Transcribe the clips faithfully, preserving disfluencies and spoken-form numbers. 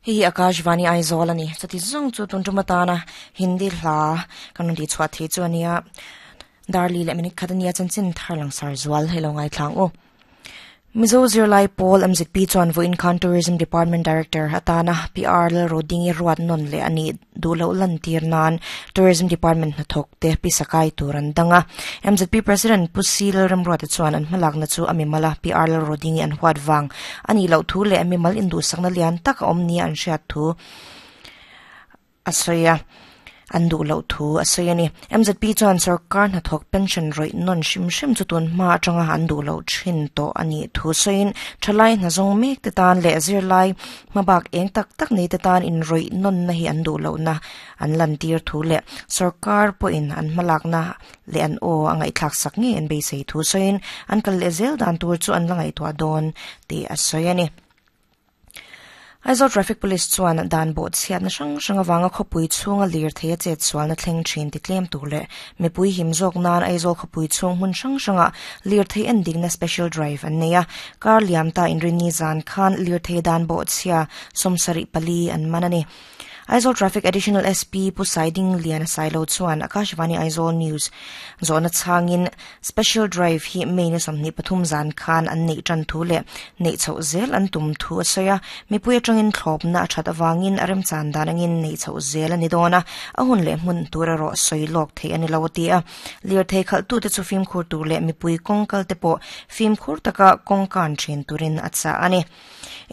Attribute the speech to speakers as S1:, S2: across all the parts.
S1: Hi Akashvani Aizawl ani chati zawng chu tun tum atana Hindi hla kan ti chhuah thei chu ania darli leh minute khat ania chanchin thar lang sar zual hei lo ngai thlang u. Mizo Zirlai Pawl M Z P chuan Vawiin Khan Tourism Department Director atana P R Lal Rodingi ruat non le ani duhloh lan tir nan Tourism Department hnathawk te pisakai tur an danga. M Z P President Pu C Lal Remruata chuan an hmalakna chu ami mala P R Lal Rodingi an huat wang ani loh thu leh ami mal induhsakna lian tak a awm nia an hriat thu a sawi a. An duhloh thu a sawi ani. M Z P chuan sarkar hnathawk pension rawih non hrim hrim chu tun hma atanga an duhloh thin tawh ani thu sawiin thalai hnazawng mek te tan leh zirlai hmabak eng tak tak nei te tan in rawih non na hi an duhloh na an lan tir thu leh sarkar pawhin an hmalakna leh an aw a ngaihthlak sak nge an beisei thu sawiin an kal leh zel dan tur chu an la ngaihtuah dawn tih a sawi ani. Aizawl Traffic Police chuan dan bawh chhiat na hrang hrang awanga khawpui chhunga lir thei a chet sual na thleng thin ti tlem tur leh mipui him zawk nan Aizawl khawpui chhung hmun hrang hranga lir thei en dikna special drive an nei a. Kar liam ta inrini zan khan lir thei dan bawh chhia sawmsarih pali an man ani. Aizawl Traffic Additional S P Pu Saiding Lian Sailo chuan Akashvani Aizawl News zawhna changin special drive hi May ni sawmhnih pathum zan khan an neih tan thu leh neih chhoh zel an tum thu a sawi a. Mipui atangin thlawpna a that awangin a remchan dan angin neih chhoh zel ani dawn a. A hun leh hmun tur erawh sawi lawk thei ani lo ti a. Lir thei khalh tu te chu fimkhur tur leh mipui kawngkal te pawh fimkhur taka kawngkan thin turin a chah ani.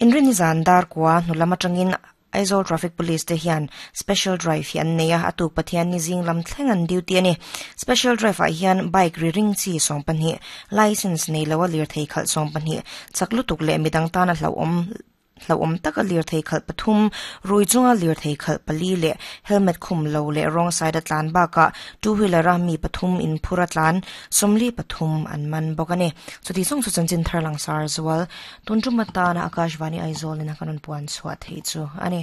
S1: Inrini zan dar kwa hnulam atangin Aizawl Traffic Police te hian special drive hi an nei a atuk Pathian ni zing lam thleng an duty ani. Special drive ah hian bike ri ring chi sawm pahnih license nei lo a lir thei khalh sawm pahnih chak lutuk leh midang tan a hlauhawm hlauhawm taka lir thei khalh pathum rui chunga lir thei khalh pali leh helmet khum lo leh wrong side a tlan bakah two wheeler a mi pathum in phur a tlan sawmli pathum an man bawk ani. Chuti zawng chu chanchin thar lang sar zual tun tum atana Akashvani Aizawl in a kan rawn puan chhuah thei chu ani.